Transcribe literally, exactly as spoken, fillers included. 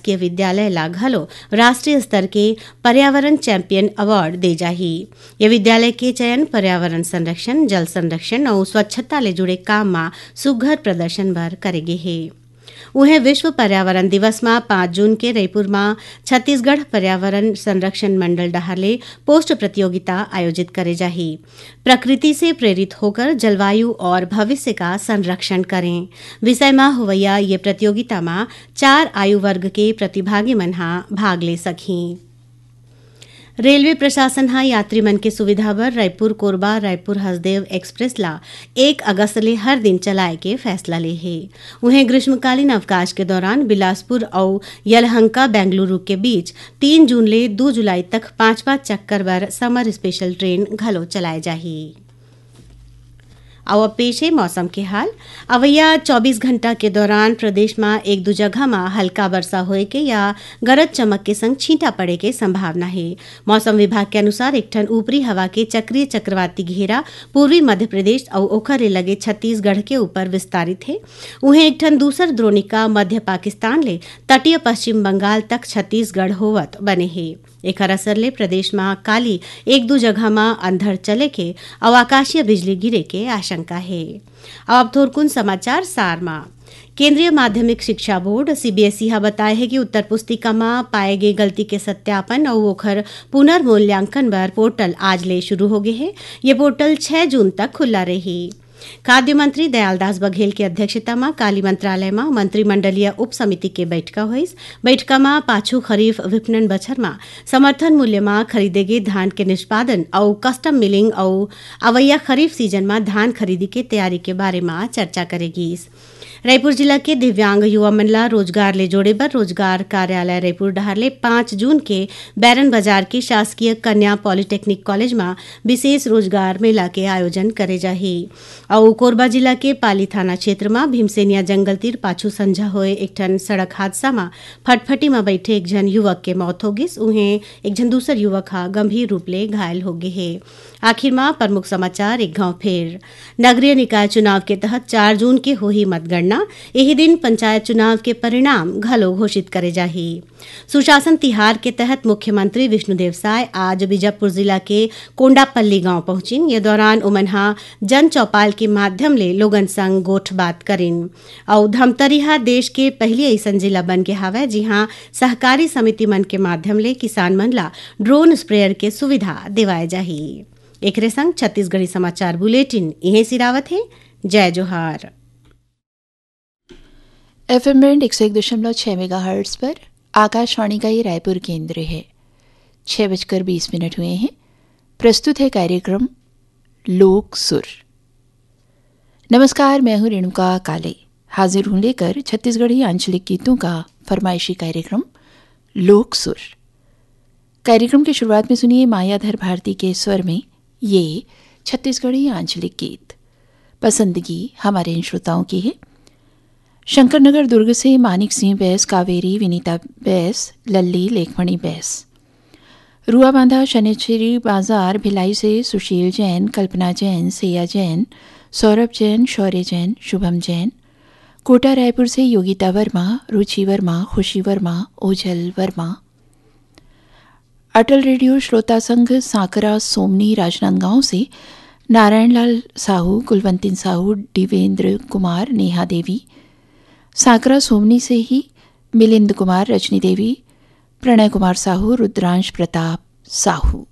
ये विद्यालय ला घलो राष्ट्रीय स्तर के पर्यावरण चैंपियन अवार्ड दे जाही। ये विद्यालय के चयन पर्यावरण संरक्षण, जल संरक्षण अउ स्वच्छता ले जुड़े काम म सुघ्घर प्रदर्शन बर करे गे हे। उहें, विश्व पर्यावरण दिवस म पाँच जून के रईपुर म छत्तीसगढ़ पर्यावरण संरक्षण मंडल डहार ले पोस्ट प्रतियोगिता आयोजित करे जाही। प्रकृति से प्रेरित होकर जलवायु और भविष्य का संरक्षण करें विषय म होवइया ये प्रतियोगिता म चार आयु वर्ग के प्रतिभागी मन ह भाग ले सकही। रेलवे प्रशासन ह यात्री मन के सुविधा बर रायपुर कोरबा, रायपुर हसदेव एक्सप्रेस ला एक अगस्त ले हर दिन चलाए के फैसला ले हे। उहें, ग्रीष्मकालीन अवकाश के दौरान बिलासपुर अउ यलहंका बेंगलुरु के बीच तीन जून ले दू जुलाई तक पांच-पांच चक्कर बर समर स्पेशल ट्रेन घलो चलाए जाही। अउ अब पेश हे मौसम के हाल। अवइया चौबीस घंटा के दौरान प्रदेश म एक दू जगह म हल्का वर्षा होए के या गरज चमक के संग छींटा पड़े के संभावना हे। मौसम विभाग के अनुसार, एक ठन ऊपरी हवा के चक्रीय चक्रवाती घेरा पूर्वी मध्य प्रदेश अउ ओखर ले लगे छत्तीसगढ़ के ऊपर विस्तारित हे। उहें, एक ठन दूसर द्रोणिका मध्य पाकिस्तान ले तटीय पश्चिम बंगाल तक छत्तीसगढ़ होवत बने हे। एखर असर ले प्रदेश म काली एक दू जगह म अंधड़ चले के अउ आकाशीय बिजली गिरे के आशंका हे। अब थोरकुन समाचार सार म। केंद्रीय माध्यमिक शिक्षा बोर्ड, सीबीएसई, ह बताय हे कि उत्तर पुस्तिका म पाए गे गलती के सत्यापन अउ ओखर पुनर्मूल्यांकन बर पोर्टल आज ले शुरू हो गे हे। ये पोर्टल छह जून तक खुला रही। खाद्य मंत्री दयालदास बघेल के अध्यक्षता म काली मंत्रालय म मंत्रिमंडलीय उप समिति के बैठका होइस। बैठका म पाछू खरीफ विपणन बछर म समर्थन मूल्य म खरीदे गे धान के निष्पादन अउ कस्टम मिलिंग अउ अवइया खरीफ सीजन म धान खरीदी के तैयारी के बारे म चर्चा करे गीस। रायपुर जिला के दिव्यांग युवा मन ला रोजगार ले जोड़े बर रोजगार कार्यालय रायपुर डहार ले पाँच जून के बैरन बाजार के शासकीय कन्या पॉलिटेक्निक कॉलेज म विशेष रोजगार मेला के आयोजन करे जाही। अउ कोरबा जिला के पाली थाना क्षेत्र म भीमसेनिया जंगल तीर पाछू संझा होए एक ठन सड़क हादसा म फटफटी म बैठे एक झन युवक के मौत हो गिस। उहें, एक झन दूसर युवक ह गंभीर रूप ले घायल हो गे हे। आखिर म प्रमुख समाचार एक घाव फेर। नगरीय निकाय चुनाव के तहत चार जून के होही मतगणना। यही दिन पंचायत चुनाव के परिणाम घलो घोषित करे जाही। सुशासन तिहार के तहत मुख्यमंत्री विष्णुदेव साय आज बीजापुर जिला के कोंडापल्ली गांव पहुंचिन। ये दौरान उमन ह जन चौपाल के माध्यम ले लोगन संग गोठबात करिन। अउ धमतरी ह देश के पहिली अइसन जिला बन गे हावय, जिहां सहकारी समिति मन के माध्यम ले किसान मन ला ड्रोन स्प्रेयर के सुविधा देवाए जाही। एकरे संग छत्तीसगढ़ी समाचार बुलेटिन इहें सिरावत हे। जय जोहार। एफएम बैंड एक सौ एक दशमलव छह मेगाहर्ट्ज पर आकाशवाणी का ये रायपुर केंद्र है। छह बजकर बीस मिनट हुए हैं। प्रस्तुत है कार्यक्रम लोक सुर। नमस्कार, मैं हूं रेणुका काले। हाजिर हूं लेकर छत्तीसगढ़ी आंचलिक गीतों का फरमाइशी कार्यक्रम लोक सुर। कार्यक्रम की शुरुआत में सुनिए मायाधर भारती के स्वर में ये छत्तीसगढ़ी आंचलिक गीत। पसंदगी हमारे इन श्रोताओं की है। शंकर नगर दुर्ग से मानिक सिंह बैस, कावेरी, विनीता बैस, लल्ली, लेखमणि बैस। रुआबांधा शनिचरी बाजार भिलाई से सुशील जैन, कल्पना जैन, सेया जैन, सौरभ जैन, शौर्य जैन, शुभम जैन। कोटा रायपुर से योगिता वर्मा, रुचि वर्मा, खुशी वर्मा, ओझल वर्मा। अटल रेडियो श्रोता संघ सांकरा सोमनी राजनांदगांव से नारायण लाल साहू, कुलवंतिन साहू, दिवेंद्र कुमार, नेहा देवी। सांकरा सोमनी से ही मिलिंद कुमार, रजनी देवी, प्रणय कुमार साहू, रुद्रांश प्रताप साहू।